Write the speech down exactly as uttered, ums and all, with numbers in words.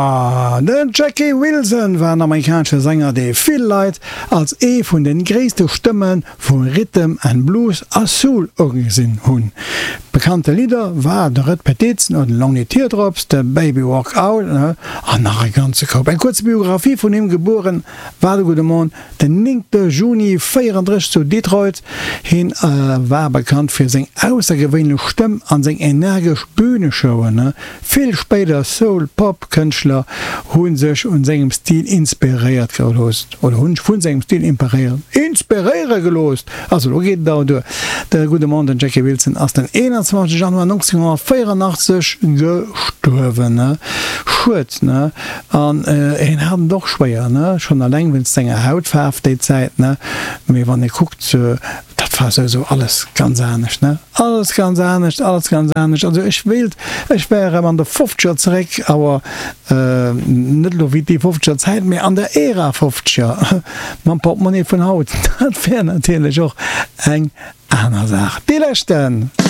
Den Jackie Wilson war en amerikanesche Sänger, dee vill Leit als ee vun de gréisste Stëmme vu Rhythm and Blues a Soul ugesinn hunn. Bekannte Lidder war de Red Petition oder Lonely Teardrops, de Baby Walk Out an nach e ganze Koup. Eng kuerz Biographie vun him, Gebueren war de gudde Mann den néngte Juni véierandrësseg zu Detroit. Hien war bekannt fir seng aussergewéinlech Stëmm an seng energesch Büneshowen. Vill spéider Soul-Pop-Kënschtler hu sech un sengem Stil inspiréiert gelooss oder hunn sech vun sengem Stil inspiréiere gelooss. Also elo geet et awer duer. De gudde Mann, den Jackie Wilson, ass den eenanzwanzeg Januar nonzénghonnertvéierandachtzeg gestuerwen. Schued, ne? An hien hat et och schwéier, ne? Schonn alleng wéinst senger Hautfaarf déi Zäit, ne? Mee wann ee kuckt, dat war souwisou alles ganz anescht, ne? Alles ganz anescht, alles ganz anescht. Also ech wéilt, ech wär erëm an de Fofzeger zeréck, awer net elo wéi déi Fofzeger Zäit, mee an der Ära Fofzeger, mam Portemonnaie vun haut. Dat wär natierlech och eng aner Saach. Dee leschten.